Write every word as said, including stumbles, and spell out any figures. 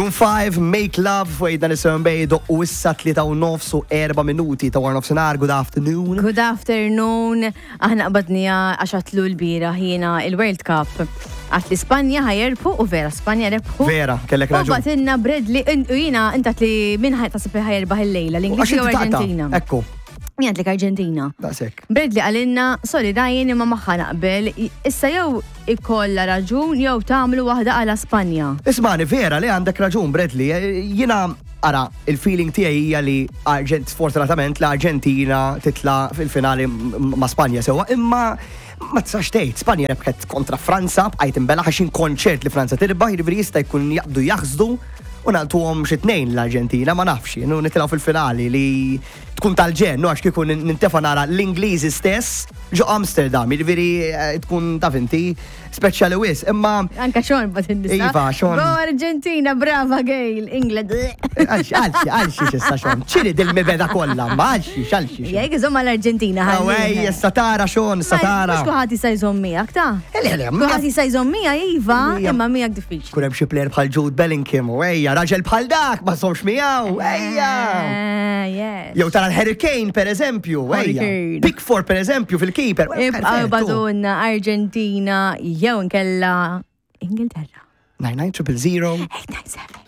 Maroon five, Make Love, fuq eight nine seven Bay, u issa tlieta u nofs u erba' minuti ta' wara nofsinhar. Good afternoon. Good afternoon. Aħna qbadnija għax għatlu l-bieraħ jiena il-World Cup. Għat li Spanja ħa jirbħu u vera Spanja rebħu. Vera, kellek U raġun. bagħtilna Bradley, u jiena inta li min ħaj tasib li ħa jirbaħ il-lejla, l-Ingliżi Għax u inti taqta'. Argentina. Ekku, Jien għedtlek Argentina. Daqsek. Bradley qalilna, "Sorry Ryan, imma magħha naqbel, issa jew ikolla raġun jew tagħmlu waħda għala Spanja." Ismani, vera li għandek raġun, Bradley. Jiena, ara, il-feeling tiegħi hija li Argent, sfortunatament l-Argentina titla fil-finali m- ma' Spanja sewa, imma ma tistax tgħid, Spanja rebħet kontra Franza, bqajt imbella għax konċert li Franza tirbaħ, jiġifieri jista' jkun jaqbdu jaħsdu u nagħtuhom xi tnejn l-Argentina, ma nafx, nu nitilgħu fil-finali li tkun tal-ġen, nu għax kieku nintefa' nara l-Ingliżi stess ġo Amsterdam, jiġifieri eh, tkun taf inti speċjali wisq, imma Anka Sean bat nisa. Iva, Sean. Go Argentina, brava Gail, England. Għalxi, għalxi, għalxi xissa Sean. ċiri dil-mibeda kollha, ma għalxi, għalxi. Jek, żomm l-Argentina. Awej, satara Sean, satara. Mhux kulħadd jista' jżomm miegħek, ta' Le, le, kulħadd jista' jżomm miegħek, iva, Mija. imma miegħek diffiċli. Kun hemm xi player bħal Jude Bellingham, u ejja, raġel bħal dak, ma somx miegħu, ejja. Eh, yes. Jew tara l-Harry Kane, per eżempju, Harry ejja. Kane. Pickford, per eżempju, fil-keeper. Ibqgħu Perfettu. bagħtulna Argentina jew nkella Ingilterra. nine nine triple zero. eight nine seven.